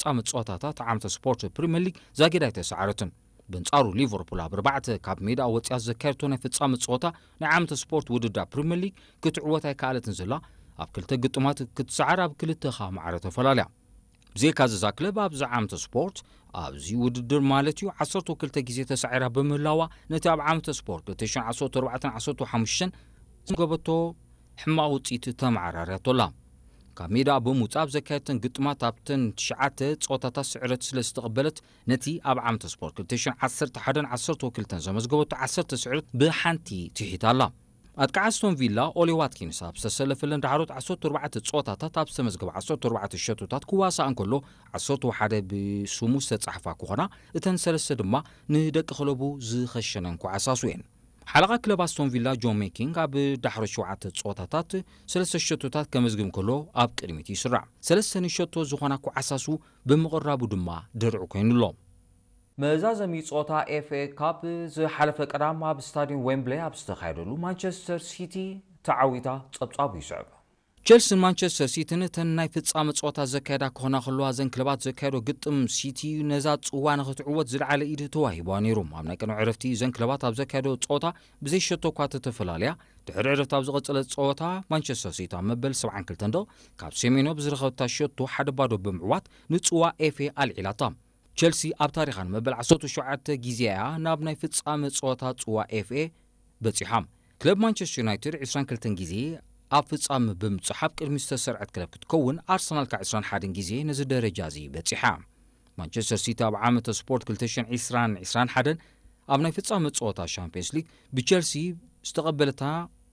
ፍጻመ ጸወታታት ዓመተ ስፖርት ፕሪምየር ሊግ ዛጊድ ኣይተሰዓረትን። በንጻሩ ሊቨርፑል ኣብ ኣርባዕተ ካብ ሜዳ ወጽያ ዘካየድቶ ናይ ፍጻመ ጸወታ ናይ ዓመተ ስፖርት ውድድር ፕሪምየር ሊግ ክትዕወት ኣይከኣለትን ዘላ ኣብ ክልተ ግጥማት ክትሰዓር ኣብ ክልተ ኻ ማዕረ ተፈላለያ። ብዘይካ እዚ እዛ ክለብ ኣብዚ ዓመተ ስፖርት ኣብዚ ውድድር ማለት እዩ ዓሰርተ ክልተ ግዜ ተሳዒራ ብምህላዋ ነቲ ኣብ ዓመተ ስፖርት ክልተ ሽሕን ዓሰርተ ኣርባዕተን ዓሰርተ ሓሙሽተን ዝገበቶ ሕማቕ ውጽኢት ተመዓራርያቶ ኣላ። ካብ ሜዳ ብምውጻእ ኣብ ዘካየድተን ግጥማት ኣብተን ትሽዓተ ጸወታታት ስዕረት ስለ ዝተቐበለት ነቲ ኣብ ዓመተ ስፖርት ክልተ ሽሕን ዓሰርተ ሓደን ዓሰርተ ክልተን ዘመዝገበቶ ዓሰርተ ስዕረት ብሓንቲ ትሒታ ኣላ። ኣጥቃዕ ኣስቶን ቪላ ኦሊ ዋትኪንስ ኣብ ዝተሰለፈለን ዳሕሮት ዓሰርተ ኣርባዕተ ጸወታታት ኣብ ዝተመዝገበ ዓሰርተ ኣርባዕተ ሸቶታት ክዋሳእ እንከሎ ዓሰርተ ሓደ ብስሙ ዝተጻሕፋ ክኾና እተን ሰለስተ ድማ ንደቂ ክለቡ ዝኸሸነን ክዓሳሱ እየን። ሓለቓ ክለብ ኣስቶን ቪላ ጆን ሜኪንግ ኣብ ዳሕሮት ሸውዓተ ጸወታታት ሰለስተ ሸቶታት ከመዝግብ እንከሎ ኣብ ቅድሚት ይስራዕ። ሰለስተ ንሸቶ ዝኾና ክዓሳሱ ብምቕራቡ ድማ ድርዒ ኮይኑ ኣሎ። መዛዘሚ ጸወታ ኤፍኤ ካፕ ዝሓለፈ ቀዳም ኣብ ስታዲየም ዌምብሌይ ኣብ ዝተኻየደሉ ማንቸስተር ሲቲ ተዓዊታ ጸብጻቡ ይስዕብ። ቸልስን ማንቸስተር ሲቲን እተን ናይ ፍጻመ ጸወታ ዘካየዳ ክኾና ከለዋ እዘን ክለባት ዘካየዶ ግጥም ሲቲ ነዛ ጽዋ ንኽትዕወት ዝለዓለ ኢድ ተዋሂቧ ነይሩ። ኣብ ናይ ቅድሚ ዕረፍቲ እዘን ክለባት ኣብ ዘካየዶ ጸወታ ብዘይ ሸቶ እኳ ተተፈላለያ ድሕሪ ዕረፍቲ ኣብ ዝቐጸለ ጸወታ ማንቸስተር ሲቲ ኣብ መበል ሰብዓን ክልተን ደቕ ካብ ሴሜንዮ ብዝረኸበታ ሸቶ ሓደ ባዶ ብምዕዋት ንጽዋ ኤፍኤ ኣልዒላታ። ቸልሲ ኣብ ታሪኻ ንመበል ዓሰርተ ሸውዓተ ግዜ እያ ናብ ናይ ፍጻመ ጸወታ ጽዋ ኤፍኤ በጺሓ። ክለብ ማንቸስተር ዩናይትድ ዕስራን ክልተን ግዜ ኣብ ፍጻመ ብምብጻሕ ኣብ ቅድሚ ዝተሰርዐት ክለብ ክትከውን ኣርሰናል ከዓ ዕስራን ሓደን ግዜ ነዚ ደረጃ እዚ በጺሓ። ማንቸስተር ሲቲ ኣብ ዓመተ ስፖርት ክልተ ሽሕን ዕስራን ዕስራን ሓደን ኣብ ናይ ፍጻመ ጸወታ ሻምፒየንስ ሊግ ብቸልሲ ዝተቐበለታ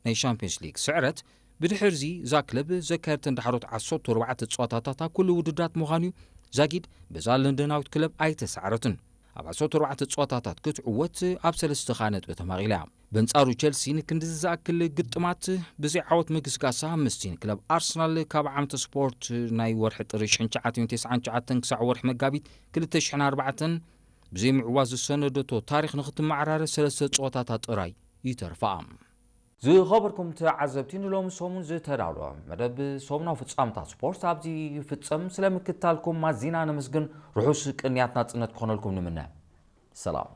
ናይ ሻምፒየንስ ሊግ ስዕረት ብድሕርዚ እዛ ክለብ ዘካየድተን ዳሕሮት ዓሰርተ ኣርባዕተ ጸወታታት ኣብ ኩሉ ውድድራት ምዃኑ እዩ። ዛጊድ በዛ ለንደናዊት ክለብ ኣይተሳዕረትን። ኣብ ዓሰርተ ኣርባዕተ ጸወታታት ክትዕወት ኣብ ሰለስተ ኻ ነጥቢ ተማቒላ እያ። በንጻሩ ቸልሲ ንክንድዚ ዝኣክል ግጥማት ብዘይ ዓወት ምግስጋሳ ምስቲ ንክለብ ኣርሰናል ካብ ዓመተ ስፖርት ናይ ወርሒ ጥሪ ሽሕን ትሽዓተ ሚእትን ተስዓን ትሽዓተን ክሳዕ ወርሒ መጋቢት ክልተ ሽሕን ኣርባዕተን ብዘይ ምዕዋት ዝሰነደቶ ታሪኽ ንክትመዓራረ ሰለስተ ጸወታታት ጥራይ ይተርፋ። ዝኸበርኩም ተዓዘብቲ ንሎሚ ሰሙን ዝተዳለወ መደብ ሰሙናዊ ፍጻመታት ስፖርት ኣብዚ ይፍጸም። ስለምክትታልኩም ኣዚና ነመስግን። ርሑስ ቅንያት ናጽነት ክኾነልኩም ንምነ። ሰላም።